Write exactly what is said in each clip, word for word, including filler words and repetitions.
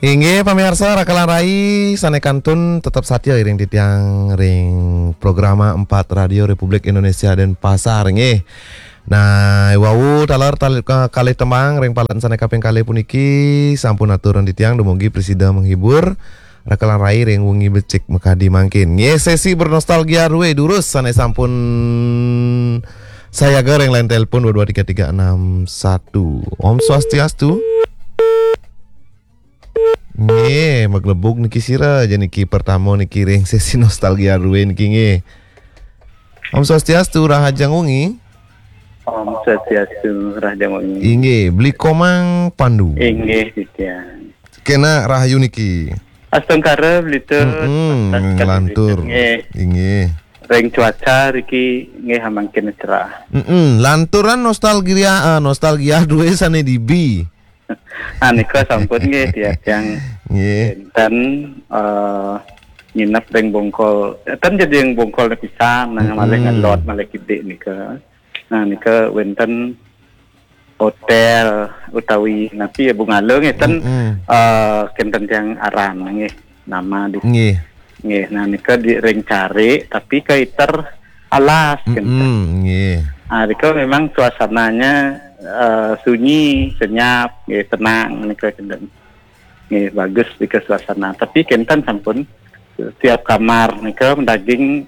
Inggih, pamiarsa, rakelan rai sané kantun tetep satia ring titiang ring programa empat Radio Republik Indonesia Denpasar, nggih. Nah, wau taler tali-, ka-, kalih tembang ring paletan sané kaping kalih puniki sampun aturang titiang, dumugi prasida menghibur rakelan rai ring wengi becik makadi mangkin. Nggih, sesi bernostalgia rue durus sané sampun sayaga ring line telepon dua dua tiga tiga enam satu. Om Swastiastu. Nggih, maglebug niki sira, ja niki pertama niki ring sesi nostalgia rue niki, nggih. Om Swastiastu, rahajeng wengi. Om Swastiastu, rahajeng wengi. Inggih, Beli Komang Pandu. Inggih, titiang. Kena rahayu niki. Astungkara, Beli Tut. Mm-mm, Astungkara, nglantur. Beli Tut, nggih. Inggih. Ring cuaca riki nggih mangkin cerah. Mm-mm, lanturan nostalgia, ah, nostalgia rue sané dibi. Ah, nika sampun nggih, tiang, tiang nggih. Wénten, eh, nginep ring Bongkol. Ten jadi ring Bongkol pisan, nah, malih, mm-mm, ngelot, malih kidik nika. Nah, nika wénten hotel utawi napi ya, Bungalow nggih, ten, mm-mm, eh, kénten tiang aran nggih, nama di nggih. Nggih, nah, nika di ring carik, tapi kaiter alas, kénten. Mm-mm, nggih. Ah, nika memang suasananya, eh, sunyi, senyap, nggih, tenang, nika, kénten. Nggih, bagus nika suasana. Tapi kénten sampun, setiap kamar nika madaging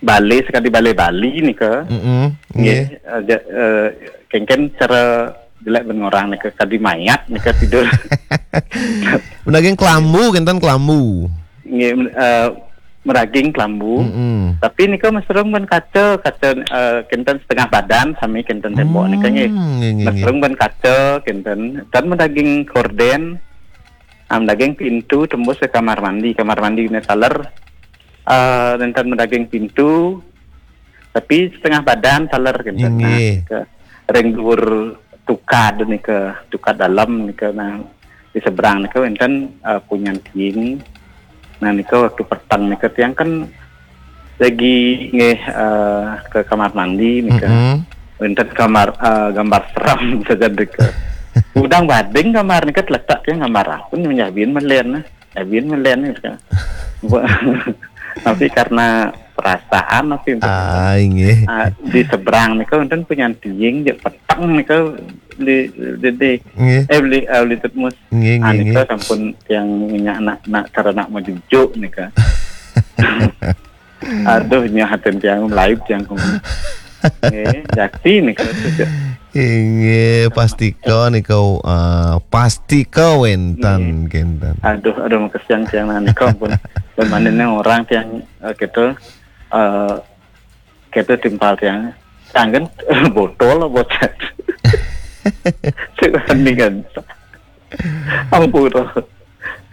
balé, sakadi balé Bali nika. Mm-mm, nggih. Nggih, eh, ja-, eh, kéngkén cara jelek ben ngorang nika, kadi mayat nika tidur. Madaging kelambu, kénten kelambu. Nggih, men-, eh, madaging kelambu. Mm-mm. Tapi nika mesrung ben kaca, kaca, eh, kénten setengah badan sami kénten tembok nika, nggih. Hmm, nggih, nggih, nggih. Mesrung ben kaca kénten, ten madaging korden, ah, madaging pintu tembus ke kamar mandi, kamar mandi nika taler, eh, nénten madaging pintu, tapi setengah badan taler kénten. Nah, nggih. Ke ring duur tukad nika, tukad dalem nika, nah, di seberang nika wénten, eh, punyan tiing. Nah, nika waktu peteng nika tiang kan lagi nggih, eh, ke kamar mandi nika. Mm-mm. Wénten kamar, eh, gambar serem saja nika. Udang bading kamar nika teletak tiang gambar apa nih, nyabin melen, nah. Nyabin melen nika. Tapi karena perasaan apa itu? Ah, inggih. Ah, di seberang nika wénten punyan tiing, ja peteng nika di, di, di, nggih, eh, Beli, eh, Beli Tutmus. Nggih, ah, nggih, nika nggih. Sampun tiang minyak anak, anak, cara anak mau jujuk nika. Aduh, nya haten tiang, laib tiang kumaha. Nggih, jakti nika. Inggih, pastika nika, eh, pastika wénten, nggih, kénten. Aduh, aduh, makesian tiang, nah, nika ampun. Pemanen orang tiang, eh, gitu, eh, gitu timpal tiang. Tanggen botol, botol. Sing kan. Ampun.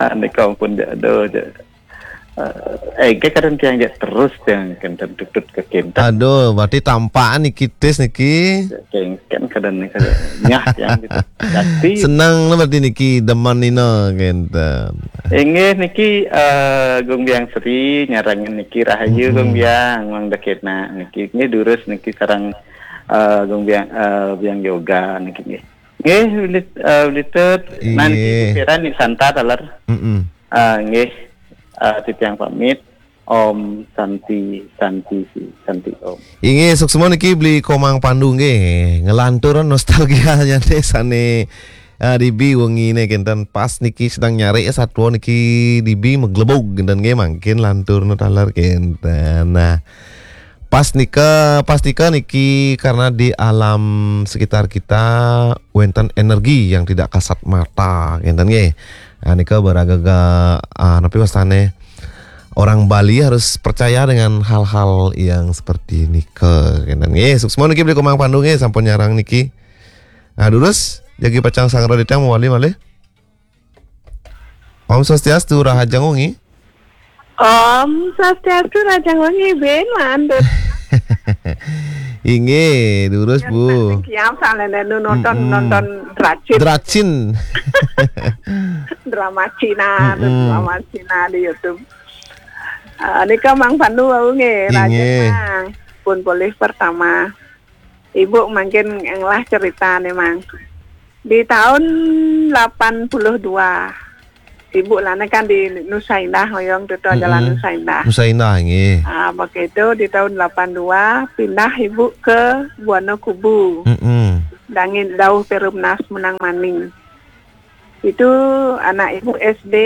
Ah, nika ampun, ja, aduh, ja. Eh, éngkén kadén tiang ja terus tiang kénten tutut ke kénten. Aduh, berarti tampakan niki tis niki. Éngkén kadén niki nyah tiang gitu. Jadi seneng lah berarti niki, demen nina kénten. Inggih niki, eh, Gung Biang Sri nyarengin niki, rahayu, mm-mm, Gung Biang, Mang Deketna niki. Nggih durus niki sareng, eh, Gung Biang, eh, Biang Yoga niki nggih. Nggih, Beli, eh, Beli Tut. Nah, niki, inggih, Pira nih Santa taler. Mm-mm. Eh, nggih, eh, titiang pamit. Om Santi, Santi, Santi Om. Inggih, suksma niki Beli Komang Pandu nggih. Ngelanturan nostalgia nyané sané, eh, dibi wenginé kénten, pas niki sedang nyari satua niki dibi maglebug kénten nggih, mangkin lanturna taler kénten. Nah, pas nika, pas nika niki karena di alam sekitar kita wénten energi yang tidak kasat mata, kénten nggih. Ah, nika baragaga, ah, napi wastané? Orang Bali harus percaya dengan hal-hal yang seperti nika, kénten nggih. Suksma niki Beli Komang Pandu nggih, sampun nyarengin niki. Nah, durus, jagi pacang sareng titiang mawali malih. Om Swastiastu, rahajeng wengi. Om Swastiastu, rahajeng wengi, Ben, mandut. Inggih, durus, Bu. Kiam salene nu nonton, mm-mm, nonton Dracin. Dracin. Drama Cina, mm-mm, drama Cina di YouTube. Eh, nika Mang Pandu wau nggih, inggih, rahajeng, Mang. Pun polih pertama. Ibu mangkin ngelah ceritane, Mang. Di tahun delapan puluh dua, Ibu lah ni kan di Nusa Indah, ngoyong tu, tu, Jalan Mm-mm. Nusa Indah. Nusa Indah, nggih. Ah, begitu di tahun lapan dua, pindah ibu ke Buana Kubu. Mm-mm. Dangin dauh Perumnas Munang Maning. Itu anak ibu S D,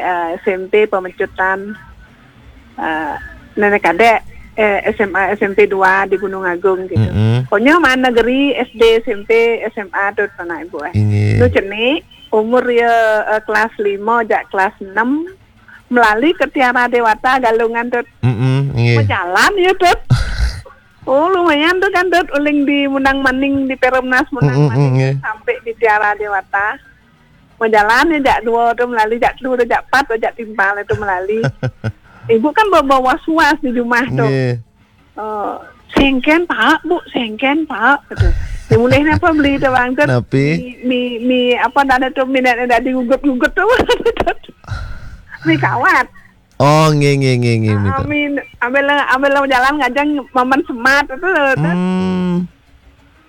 ah, S M P Pemecutan. Ah, nenek kadek, eh, S M A, S M P dua di Gunung Agung gitu. Mm-mm. Pokoknya mana negeri S D, S M P, S M A tu anak ibu, eh. Inggih. Tu cenik, umur ya, eh, kelas lima jak kelas enam, melalui ke Tiara Dewata Galungan tu. Mm-mm, inggih. Berjalan ya tu. Oh, lumayan tu kan tu, uling di Munang Maning, di Perumnas Munang Mm-mm, Maning, inggih. Sampai di Tiara Dewata. Berjalan ya jak dua tu melalui, jak telu tu, jak empat tu, jak timpal tu melalui. Ibu kan bawa was-was di rumah tu. Nggih. Oh, sengken, Pak, Bu, sengken, Pak, kata. Dia mulai apa beli tu, bang, tu? Napi? Mi, mi, mi, apa, dah ada tu, mi nak, nak digugut-gugut tu. Mi kawat. Oh, nggih, nggih, nggih, nggih, Ah, mi tu. Amin, ambil, ambil jalan ngajang maman semat tu, tu. Hmm.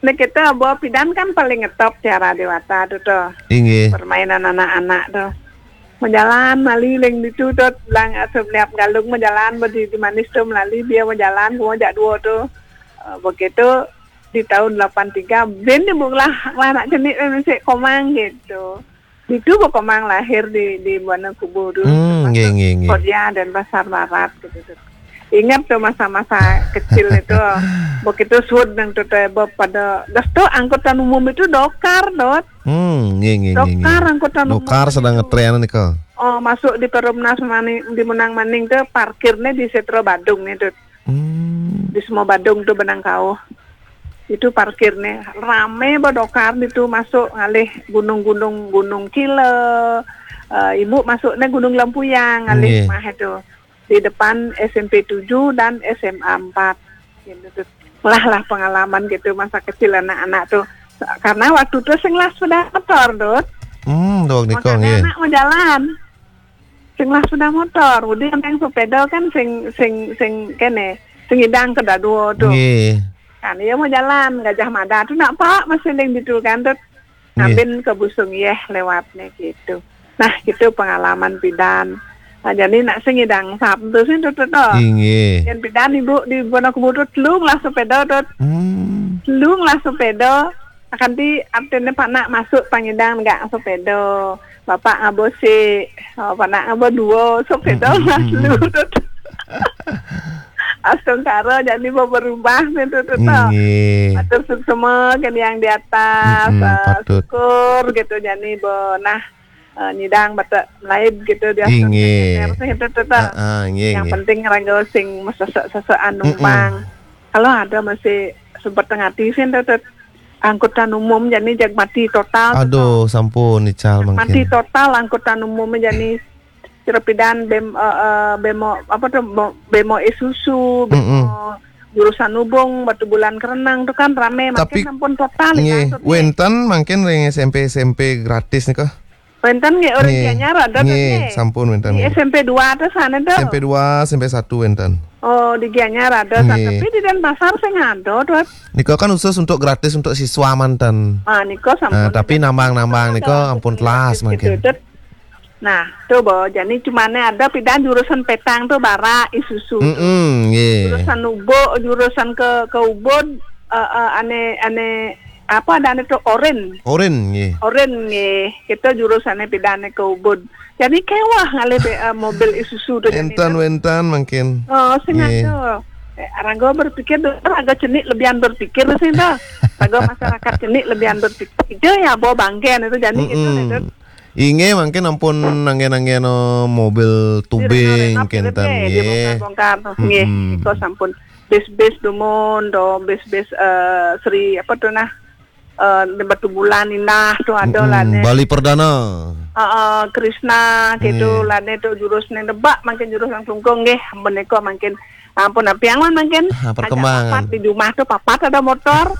Ni kita bawa pidan kan paling ngetop Tiara Dewata tu, tu. Inggih. Permainan anak-anak tu. Menjalan, mali leng ditu tu, lang asup liap galung menjalan, berdi di manis tu melali, dia menjalan, gua jak dua tu. Ah, begitu, di tahun lapan tiga, bin ni bukalah, lah nak cenik, bin mesti komang gitu. Ditu berkomang lahir di, di Buana Kubu tu. Hmm, nggih, nggih, nggih. Kodia dan Pasar Barat gitu tu. Ingat tu masa-masa kecil itu. Begitu sud nang tu, tu, pada gas tu angkutan umum itu dokar, Dot. Hmm, nggih, nggih, nggih, nggih. Dokar angkutan umum Dokar sedang itu. Ngetren ni ke? Oh, masuk di Perumnas Maning, di Munang Maning tu, parkirnya di Setro Badung ni tu. Hmm. Di semua Badung tu benang kau. Itu parkir ni rame, bedokar di tu masuk ngalih gunung-gunung, Gunung Kila. Eh, ibu masuk ni Gunung Lempuyang ngalih Nggih. Mah itu. Di depan S M P tujuh dan S M A empat. Gitu tu. Lah, lah pengalaman gitu masa kecil anak-anak tu. Karena waktu tu sing lah sepeda motor, Dut. Hmm, dok nikah Makanya nggih. Anak mau jalan. Sing lah sepeda motor, udah yang sepeda kan sing, sing, sing kene, sing idang ke dadua tu. Nggih. Kan, iya mau jalan, Gajah Mada tu nak pak, masih ling ditu kan tu. Nggih. Ngambin ke Busung Yeh lewat ni gitu. Nah, gitu pengalaman pidan. Nah, jadi nak sing idang sap tu sing tu, tu, tu. Inggih. Yang pidan ibu di Bono Kubu tu telung lah sepeda tu. Hmm. Telung lah sepeda. Akan di artinya panak masuk pangidang enggak sepeda. Bapak ngabo si, oh, panak ngabo dua, sepeda Hmm, hmm, mas hmm, lu hmm. Tu. Astungkara jadi berubah ni tu, tu, tu. Inggih. Matur suksema ke yang di atas, Mm-mm, eh, patut. Syukur gitu jadi bo nah, eh, nyidang bata melaib gitu di Inggih. Astungkara gitu, tu, tu, tu. Ah, ah, inggih, Yang inggih. Penting raga sing mesesek-sesekan Mm-mm. numpang. Kalau ada masih sempat tengah hati sih tu, tu. Angkutan umum jadi jag mati total tu, Aduh, tu. Sampun ical Mati mangkin. Total angkutan umum jadi Sira pidan bem, eh, eh, bemo, apa tu, bo-, bemo Isuzu, bemo Mm-mm. Jurusan Ubung, Batu Bulan Kerenang tu kan rame, Tapi, makin sampun total nggih, ya, maksudnya. Wenten mangkin ring S M P, S M P gratis nika? Wenten nggih, orang Nggih. Gianyar ada tu Nggih, nggih. Sampun wenten Di nggih. S M P dua tu sana tu. S M P dua, S M P satu wenten. Oh, di Gianyar ada sana. Nggih. Tapi di Denpasar sing ada tu. Nika kan khusus untuk gratis untuk siswa manten. Ah, nika sampun Ah, tapi gratis. Nambang-nambang nika Ada, ampun betul, telas gratis mangkin. Gitu, Dut. Nah, tu bo, jadi cumane ada pidan jurusan petang tu barak Isuzu tu. Mm-mm, nggih. Jurusan Ubuk, jurusan ke, ke Ubud, eh, eh, ane, ane, apa ada ane tu Orin. Orin, nggih. Orin, nggih. Kita jurusannya pidan ke Ubud. Jadi kewah ngalih be, eh, mobil Isuzu tu jadi Entan tu. Wentan mangkin. Oh, sing Nggih. Ada. Eh, raga berpikir tu, raga cenik lebihan berpikir sih tu. Raga masyarakat cenik lebihan berpikir. Itu ya bawa banggen itu jadi gitu Mm-mm. Itu. Inggih mangkin ampun anggen-anggen, oh, mobil tubing Direnov-renov kinten, gitu, nggih. Dibongkar-bongkar. Nggih, Mm-mm. Iko sampun. Bis-bis dumun, do, bis-bis, eh, Sri, apa tu nah? Eh, di Batu Bulan Indah tu ada lah, Mm-mm. Nek. Bali Perdana. Eh, eh, Krishna, gitu Nggih. Lah, Nek, tu jurus ni debak, mangkin jurus langsung kong, nggih. Ampun, iko mangkin Ampun, api angon mangkin. Ah, perkembangan. Ajak papat di rumah tu, papat ada motor.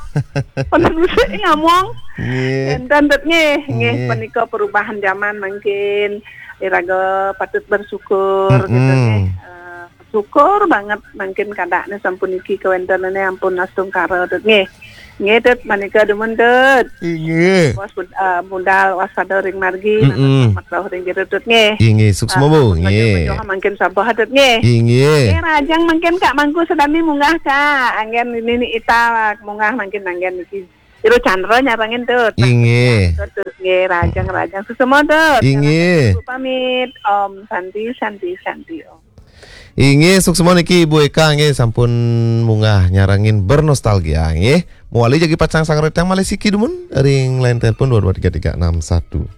Penuh musik ngamong. Nggih. Enten dot nggih, nggih, Nggih. Penika perubahan zaman mangkin. Iraga patut bersyukur, Mm-mm. Gitu, nggih. Eh, syukur banget mangkin kadakne sampun iki kawentenane ampun astungkara dot nggih. Nggih, Tut, manika dumun, Tut. Inggih. Bos bud-, eh, budal waspada ring margi, mm-mm, makruh ring jero, Tut, nggih. Inggih, suksma, ah, Bu, nggih. Mangkin sabar, Tut, nggih. Inggih. Nggih, rahajeng mangkin Kak Mangku sadami munggah, Kak. Anggen nini ita munggah mangkin anggen niki. Jero Chandra nyarengin, Tut. Inggih. Tut, Tut, nggih, rahajeng, rahajeng. Suksma, Tut. Inggih. Ibu pamit. Om Santi, Santi, Santi, Om. Inggih, suksma niki Ibu Eka nggih sampun munggah nyarengin bernostalgia nggih. Mawali jagi pacang sanggra titiang malih siki dumun ring line telepon dua dua tiga tiga enam satu.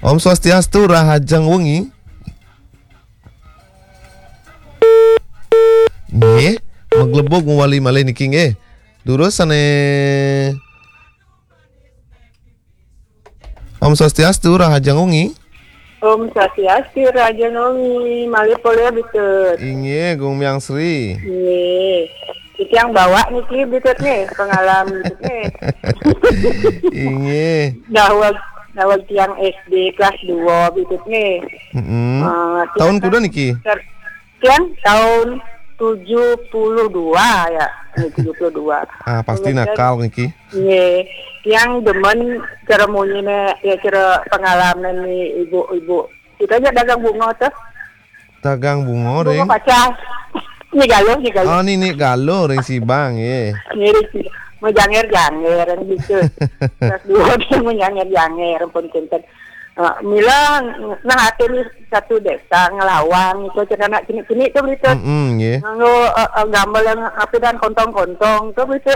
Om Swastiastu, rahajeng wengi. Nggih, maglebug mawali malih niki nggih. Durus sane Om Swastiastu, rahajeng wengi. Om Swastiastu, rahajeng wengi. Malih polih, Bitut. Inggih, Gung Myang Sri. Inggih. Titiang bawa niki, Bitut, nih, pengalaman, Bitut, nih. Inggih. Daweg, daweg tiang S D kelas dua, Bitut, nih. Mm-mm. Eh, tiang tahun kuda niki? Ter-, Tiang tahun tujuh puluh dua ya, eh, tujuh puluh dua. Ah, pasti kemudian nakal niki. Nggih, tiang demen cara munyine, ya, cara pengalaman ni ibu-ibu. Kita aja dagang bunga tuh. Dagang bunga, bunga ring? Pacah. Ni Galuh, ni Galuh. Oh, ni, ni Galuh ring Sibang, nggih. Nggih, ring Sibang. Mau janger-janger, gitu. Kelas dua dia mau janger-janger, pun kinten. Ah, mila nang ati ni satu desa ngelawang itu, cek anak cinik-cinik tu begitu. Mm-mm, nggih. Nganggo, eh, eh, gambar yang apa dan kontong-kontong tu begitu.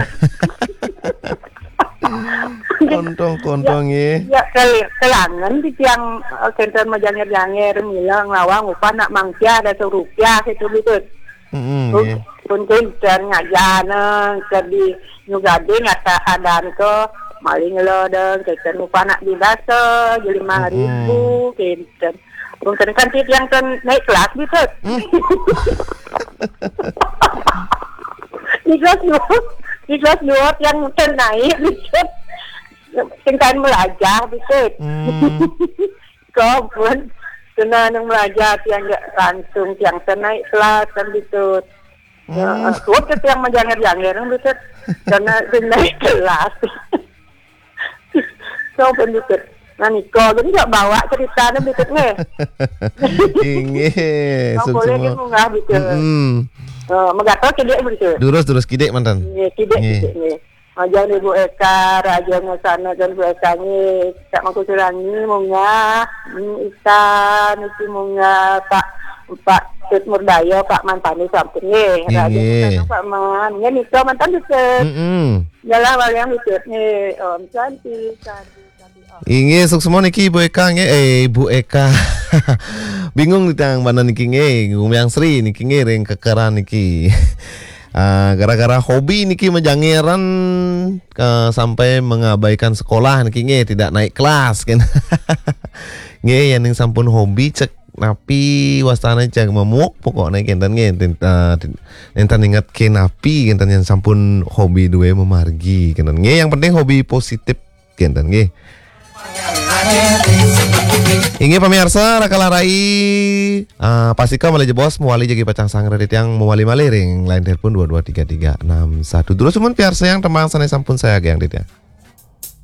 Kontong-kontong, ya, nggih. Ya, kel-, kelangen di tiang, eh, kenten majanger-janger, mila ngelawang upah nak mangsia ada serupiah itu begitu. Mm-mm, pun, nggih. Pun kenten ngajana, ke di nyugade ngata adan ke maling lo dong, kenten upah nak di basa, jadi lima ribu, mm-mm, kenten. Pun kenten kan tiap yang ten naik kelas gitu. Hmm. Di kelas dua, di kelas dua yang ten naik gitu. Tingkatan belajar gitu. Hmm. Kau pun kena nang belajar tiang langsung tiang ten naik kelas kan gitu. Hmm. Ya, suap ke tiang majanger-janger, kan, Bitut. Karena dia naik kelas. Suap, kan, Bitut. Nah, Niko, jadi nggak bawa ceritanya, Bitut, nih. Inggih, nggak boleh suksma. Dia munggah, Bitut. Mm-mm. Eh, megato kidik, Bitut. Durus, durus kidik, mantan. Nggih, kidik, nggih. Kidik, nggih. Majang Ibu Eka, Raja Ngesana dan Bu Eka, nggih. Cak Mangku Surangi, munggah. Hmm, Ika, niki munggah, Pak, Pak Tut Murdaya, Pak Man Tani sampun, nggih. Raja, nggih, Ngesana, Pak Man. Nggih, nika mantan, Bitut. Mm-mm. Yalah, waliang Bitut, nggih. Om Santi, Santi, Santi, Om. Inggih, suksma niki Ibu Eka, nggih. Eh, Ibu Eka. Bingung nih tang mana niki, nggih. Gumiang Sri niki, nggih, ring kekeran niki. Ah, gara-gara hobi niki majangeran, eh, sampai mengabaikan sekolah niki, nggih, tidak naik kelas, kan. Nggih, yang sampun hobi cek napi wastane cek mamuk pokoknya kenten nggih, ten-, eh, ten-, nenten inget ke napi kenten yang sampun hobi duwe memargi kenten nggih, yang penting hobi positif kenten nggih. Inggih pamiarsa, raka larai, eh, pastika malih jebos mawali jagi pacang sanggra titiang mawali malih ring line telepon dua dua tiga tiga enam satu. Terus sumun piarsa yang tembang sane sampun saya agiang titiang.